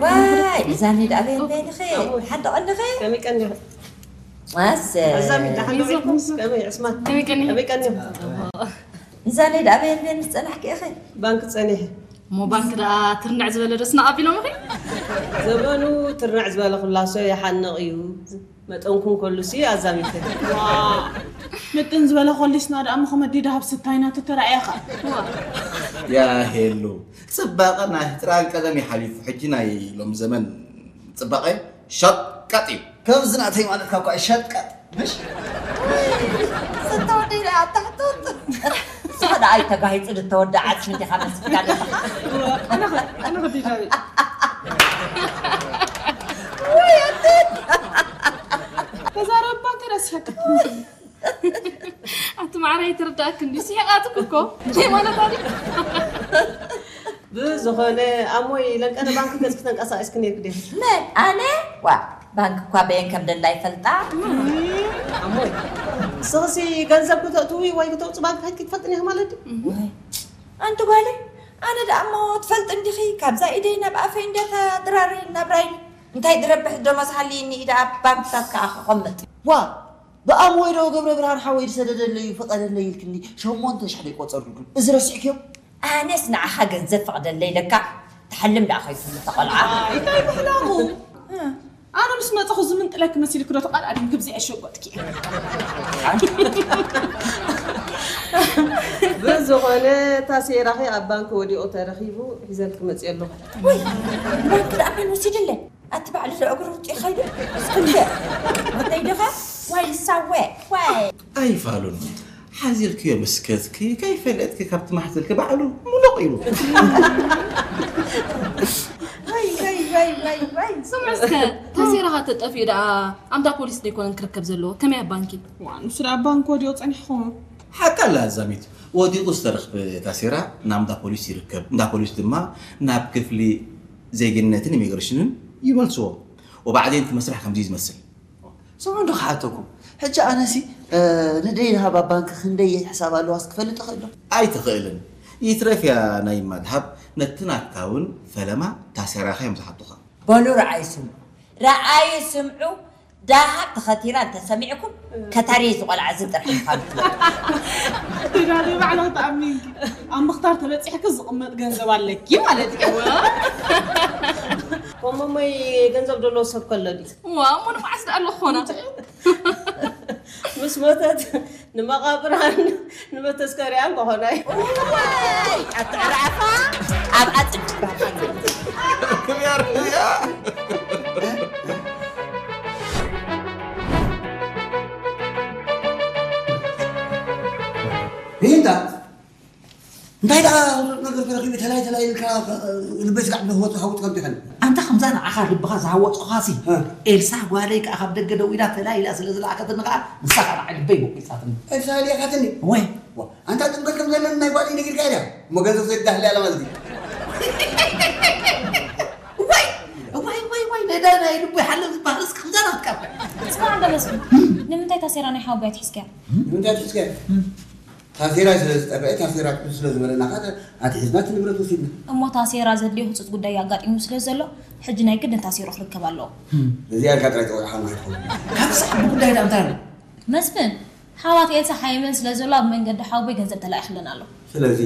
ዋይ ንዛኒ ደኣ በየን በየንኺ ሓንቲ ቐንድኺ? ከመይ ቀኒኺ? ኣሰ ኣዛሚ ደሓን ዶ ኢልኩም? ከመይ ዕስማን? ከመይ ቀኒኺ? ከመይ ቀኒኺ? ንዛኒ ደኣ በየን በየን ዝጸናሕኪ ኢኺ? ባንክ ጸኒሐ። እሞ ባንክ ደኣ ትርንዕ ዝበለ ዶ ስናቕ ኣቢሎምኺ? ዘመኑ ትርንዕ ዝበለ ኩላሶ ይሓንቕ እዩ። መጠንኩም ከሉሲ ኣዛሚተ። ምጥን ዝበለ ኮሊስና ደኣ ምኸመዲ ደሃብ ስታይና ተተራእያ ኸኣ። ያ ሄሉ፣ ጽባቐ ናይ ትራን ቀደም ይሓሊፉ፣ ሕጂ ናይ ሎሚ ዘመን ጽባቐ ሸቀጥ እዩ። ከምዚ ናተይ ማለትካ እኳ እዩ ሸቀጥ፣ ምሽ? ዝተወደይ ደኣ ኣታሕቱት። ንስኻ ደኣ ኣይተጋሂጽ ዝተወደ ዓጽሚ ዲኻ መስፍን ኣለኻ? ኣነ ኸ-፣ ኣነ ኸ ዲዳዊ። ወይ ኣንተ። ተዛረባ እንተ ደኣ ስሕቅ። ኣቲ ማዕረ ኣይትርዳእክ እንዲ ስሒቓትክ እኮ። እንታይ ማለታ ድዩ? ብዝኾነ ኣሞይ ለንቀነ ባንክ ገጽኪ ተንቀሳቒስኪ ነይርኪ ዲኺ? መን? ኣነ? ዋ፣ ባንክ እኳ በየን ከም ደላ ይፈልጣ። ኣሞይ፣ ንስኽሲ ገንዘብ ክተእትዊ ወይ ክተውጽ ባንክ ከይድኪ ትፈልጥኒ ኢኺ ማለት ድዩ? ወይ፣ ኣንቲ ጓለይ፣ ኣነ ደኣ እሞ ትፈልጥ እንዲኺ፣ ካብዛ ኢደይ ናብ ኣፈይ እንዲያ እታ ድራረይ ናብራይ። እንታይ ድረብሕ ደሞዝ ሃልይኒ ኢዳ ኣብ ባንክታት ከኣ ከቐምጥ። ዋ፣ ብኣምወይ ዶ ገብረ ብርሃን ሓወይ ዝሰደደለይ እዩ ፍቐደለይ ኢልክኒ ሸሞንተ ሽሕ ደይቆጸርኩልኩም። እዚ ረሲዕክዮ? ኣነስ ንዓኻ ገንዘብ ፍቐደለይ ኢለካ ትሓልም ደኣ ከይትብሉ እታ ቆልዓ። ኣይ፣ እንታይ ምሕላሙ? ኣነ ምስ መጻኹ ዝምንጥለኪ መሲልኪ ዶ ተቓልዓልኝ ግብዚ ኣሸጎጥኪ? ብዝኾነ እታ ሴራኺ ኣብ ባንክ ወዲቑ ተረኺቡ ሒዘልኪ መጽየ ኣለኹ። ወይ፣ ባንክ ደኣ መን ወሲድለይ? ኣቲ ባዕሉ ዝእግሩ ውጢ ኸይዱ እስክንድር ወደይ ድኻ ወይ ሳወ ወይ ኣይፋሉን ሓዚልክዮ ምስከትኪ ከይፈለጥኪ ካብቲ ማሕዘልኪ ባዕሉ ሙሉቕ ኢሉ። ወይ ወይ ወይ ወይ ወይ ስምዕ እስከ ታሴራኻ ተጠፊኡ ደኣ ኣምዳ ፖሊስ ደይኮነን ክርከብ ዘለዎ ከመይ ኣብ ባንኪ? ዋ ንሱ ደኣ ባንክ ወዲቑ ጸኒሕኹም ሓቃ ኣላ ኣዛሚት ወዲቑ ዝተረኽበ ታሴራ ናብ እንዳ ፖሊስ ይርከብ እንዳ ፖሊስ ድማ ናብ ክፍሊ ዜግነትን ኢሚግሬሽንን ይመልስዎ። ወባዕዴን እቲ መስርሕ ከምዚ እዩ ዝመስል። ስምዑ እንዶ ክሓተኩም። ሕጂ ኣነሲ ንደይ ንሃብ ኣብ ባንክ ክንደይ ሕሳብ ኣለዋስ ክፈልጥ እኽእል ዶ? ኣይትኽእልን። ይትረፍ እያ ናይ ማድሃብ ነቲ ናትካ እውን ፈለማ ታሴራኻ እዮም ዝሓቱኻ። በሉ ረኣይ ስምዑ። ረኣይ ስምዑ። ዳሃብ ተኸቲራ እንተሰሚዕኩም ከታሪ ዝቆልዓ እዚ ጥራሕ ኢኻ ምትወ። ትዳሪ ባዕላ ተኣሚንኪ ኣብ ምኽታር ተበፂሕኪ ዝቕመጥ ገንዘብ ኣለኪ ማለት እዩ። ኮመሞይ ገንዘብ ደሎ ሰብ ከሎ ድዩ? ዋ እሞ ንመዓስ ደኣ ኣሎ ክኾና? ምስ ሞተት ንመቓብራን ንመተስከሪያን ከኾና እዩ። እዋይ፣ ኣትዕራፋ ኣብ ኣጽድ ክብያር እያ። ይህንታ እንታይ ደኣ ነገር ተረኺቡ ተላይ ተላይ ኢልካ ልበይ ስጋዕ ብለህወጡ ሃውት ከምቲ ኸን ኣንታ ከምዛ ንዓኻ ልብኻ ዝሃወፅኹኻሲ እ። ኤልሳ ጓለይ ከዓ ካብ ደገ ደው ኢላ ተላኢላ ስለ ዝለኣኸትኒ ከዓ ንሳ ከዓ ንዓይ ልበይ ቦቂፃትኒ። ኤልሳ ሊኣኻትኒ? ወይ ኣንታ ጥንበት ከም ዘለኒ ናይ ጓለይ ነጊርካ ኢያ እሞ ገንዘብ ዘድዳህልያ ኣላ ማለት እዩ። ወይ ወይ ወይ ወይ ነዳ ናይ ልቦይ ሓለም ዝበሃል እስከ ከምዛ ናትካ ስማ እንደ መስፍን ንምንታይ ታሴራ ናይ ሓወቦይ ኣትሒዝካያ? ንምንታይ ኣትሒዝካያ? ታሴራ ስለ ዝጠፍአ ታሴራ ክቱ ስለ ዝበለና ከዓ ኣትሒዝና እቲ ንብረት ወሲድና። እሞ ታሴራ ዘድልዮ ህፁፅ ጉዳይ ኣጋጢሙ ስለ ዘሎ ሕጂ ናይ ግድን ታሴሮ ክርከብ ኣለዎ። እዚኣ ኢልካ ጥራይ ፀዊዕካ ማለት ኸውን። ካብ ሰዓት ብጉዳይ ዳ እንታይ ኣሎ? መስፍን ሓዋት ኤልሳ ሓይመን ስለ ዘሎ ኣብ መንገዲ ሓውቦይ ገንዘብ ተላኢኽለን ኣሎ። ስለዚ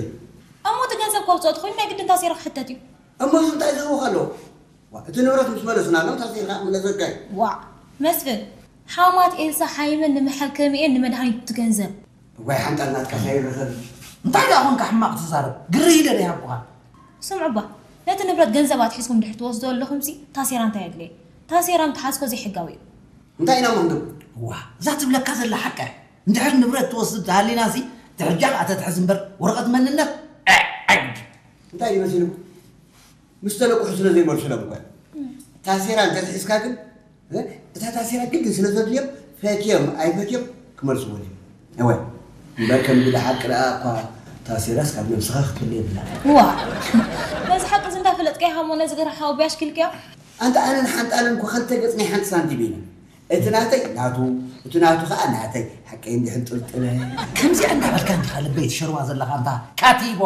እሞ እቲ ገንዘብ ከውፅኦ ተኾይኑ ናይ ግድን ታሴራ ክሕተት እዩ። እሞ እዚ እንታይ ዝህቦ ኣለዎ? እቲ ንብረት ምስ መለስናሎም ታሴርካ ክምለሰልካ እዩ። ዋእ መስፍን፣ ሓማት ኤልሳ ሓይመን ንመሐከሚኤን ንመድሃኒቱ እቲ ገንዘብ። እዋይ ሓንጣል ናትካ ከይረኸብ። እንታይ ደኣ ኾንካ ሕማቕ ትዛረብ? ግርህ ኢለ ዶ ይሃብኩኻ? ስምዑ እባ፣ ነቲ ንብረት ገንዘብ ኣትሒዝኩም እንድሕር ትወስዶ ኣለኹምሲ ታሴራ እንታይ ኣድለየ? ታሴራ ምትሓዝኮ ዘይሕጋዊ እዩ። እንታይ ኢና እሞ ክንገብር? እዋ፣ እዛ ትብለካ ዘላ ሓቃ እያ። እንድሕር ንብረት ትወስድ ተሃሊናሲ፣ ትሕጃ ከኣ ተትሕዝ እምበር ወረቐት መንነት፣ ዐ፣ ዐግድ። እንታይ እዩ መሲልኩም? ምስ ተለቅሑ ስለ ዘይመልሱሎም እኳ። ታሴራ እንተትሒዝካ ግን፣ እ፣ እታ ታሴራ ግድን ስለ ዘድልዮም፣ ፈትዮም ኣይፈትዮም ክመልስዎ ድዮም? እወ። እምበር ከም ብሓቂ ደኣ እኳ ታሴራስ ካብ ነብስኻ ክትፍለ የብላን። ዋ፣ ነዚ ሓቂ እዚ እንዳፈለጥካ ኢኻ እሞ ነዚ ገርሓዊ ብያሽ ክልክዮ? ኣንታ ኣነን ሓንጣልን እኮ ክልተ ገጽ ናይ ሓንቲ ሳንቲም ኢና። እቲ ናተይ ናቱ፣ እቲ ናቱ ኸኣ ናተይ። ሓቀይ እንዲሕን ጥልጥለ። ከምዚኣ እንዳበልካ እንዲኻ ልበይ ትሸርዋ ዘለኻ ኣንታ ካቲቦ።